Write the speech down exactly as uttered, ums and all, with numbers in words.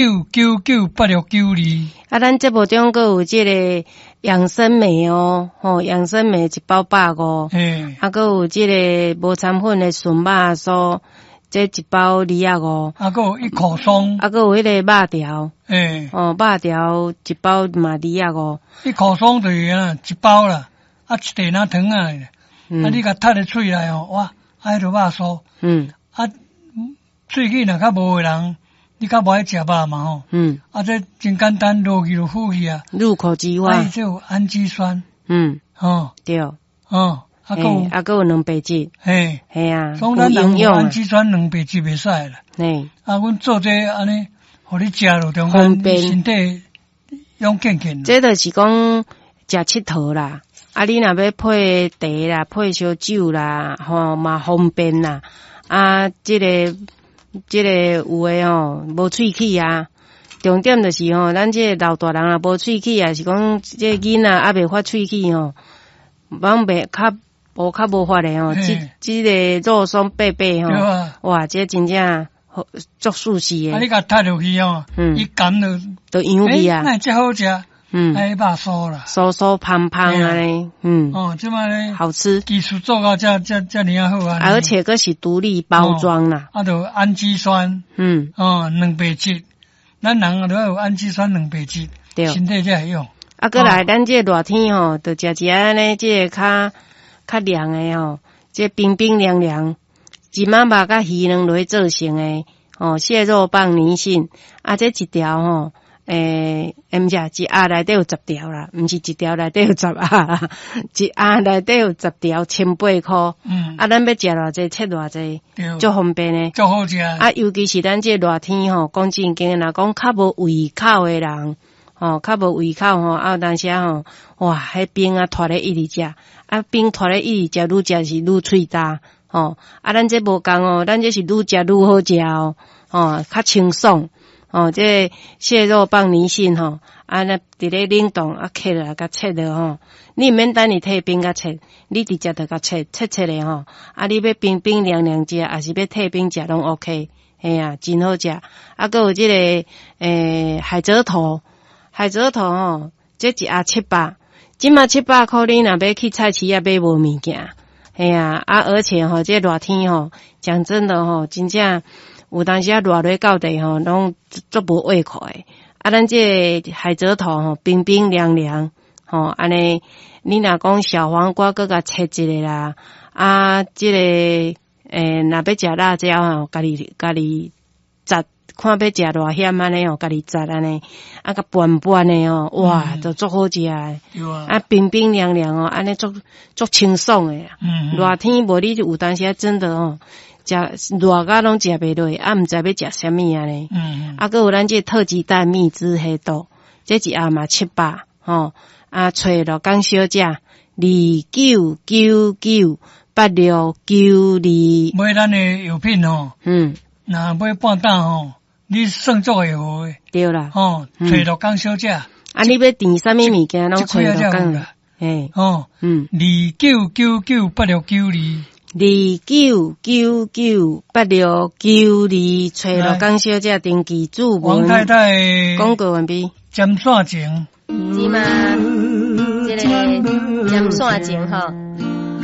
九九九八六九二。啊，咱節目中閣有這个養生美哦，吼，養生美一包百五，嘿，啊，閣有這个無摻粉的純肉酥，這一包二十五，啊，閣有一口鬆，啊，閣有彼个肉條，嘿，哦，肉條一包嘛二十五，一口鬆就是啊，一包啦，啊，一袋若糖仔，嗯啊，你共踢咧喙內吼，哇，啊，彼就肉酥，嗯啊，喙齒若較無的人，你較無愛食肉嘛吼，嗯，啊，這真簡單，落去就敷去啊，入口即啊，化伊，這有氨基酸，嗯，吼，對，哦，啊，閣有，嘿啊，閣有蛋白質，嘿，嘿啊，所以有咱人有營養啊，氨基酸蛋白質袂使啦。嘿，啊，阮做這按呢，予你食落中間，方便身體勇健健。這就是講食𨑨迌啦。啊，你若欲配茶啦，配燒酒啦，吼嘛方便啦。啊，這个這个有的吼無喙齒啊。重點就是吼，咱這个老大人啊無喙齒啊，是講這个囡仔猶未發喙齒吼，攏袂較無較無法的吼。這嘿這个肉鬆白白吼，對啊，哇，這真正好足舒適啊，的，你共踢落去吼，嗯伊含落，都揚味欸，啊，哪會遮好食？嗯，哎，肉酥啦，酥酥芳芳按呢，嗯。哦，這擺咧好吃，技術做到遮遮遮爾仔好啊！而且閣是獨立包裝啦。啊，就氨基酸，嗯，哦，蛋白質，咱人都要有氨基酸蛋白質，對。身體才會用。啊，閣來咱這個熱天吼，就食一按呢，這個較較涼的吼，這冰冰涼涼，一仔肉佮魚卵落去做成的，吼，蟹肉棒泥蕈，啊，這一條吼，欸，欸，毋是，一盒內底有十條啦，毋是一條內底有十盒啦，一盒內底有十條，千八箍。嗯，啊，咱欲食偌濟，切偌濟，對，足方便的。足好食。啊，尤其是咱這個熱天吼，講正經的，若講較無胃口的人，吼，較無胃口吼，啊有當時吼，哇，彼冰啊拖咧一直食，啊冰拖咧一直食，愈食是愈喙焦，吼，啊咱這無仝哦，咱這是愈食愈好食哦，吼，較清爽，吼，這個蟹肉棒泥蕈吼，啊那佇咧冷凍啊，切落來共切落吼，你毋免等伊退冰共切，你直接就共切切切咧吼，啊你欲冰冰涼涼食，抑是欲退冰食攏 OK，嘿啊，真好食。啊，閣有這个欸海蜇頭，海蜇頭吼，這一盒七百，這馬七百箍，你若欲去菜市仔買無物件，嘿啊，啊而且吼，這熱天吼，講真的吼，真正有當時啊熱咧到底吼，攏足無胃口的。啊，咱這個海蜇頭吼，冰冰涼涼，吼，按呢，你若講小黃瓜閣共切一下啦，啊，這個欸，若欲食辣椒吼，家己家己摘，看欲食偌鹹按呢吼，家己摘按呢，啊，共拌拌的吼，哇，嗯就足好食的。對啊，啊，冰冰涼涼哦，按呢足足清爽的啊。嗯，熱天無你有當時啊，真的吼，食熱甲攏食袂落，啊，毋知欲食啥物按呢。嗯，啊，閣有咱這個特級蛋蜜汁黑豆，這一盒嘛七百吼。啊，揣陸港小姐二九九九八六九二，買咱的藥品吼，嗯，若買半擔吼，你算足會好的，對啦。吼，嗯揣陸港小姐，啊，你欲訂啥物物件，攏這揣幾仔陸港才有啦，嘿，吼，嗯，二九九九八六九二，二九九九八六九二，揣陸港小姐登記注文。王太太廣告完畢。針線情，是嗎？這個針線情吼。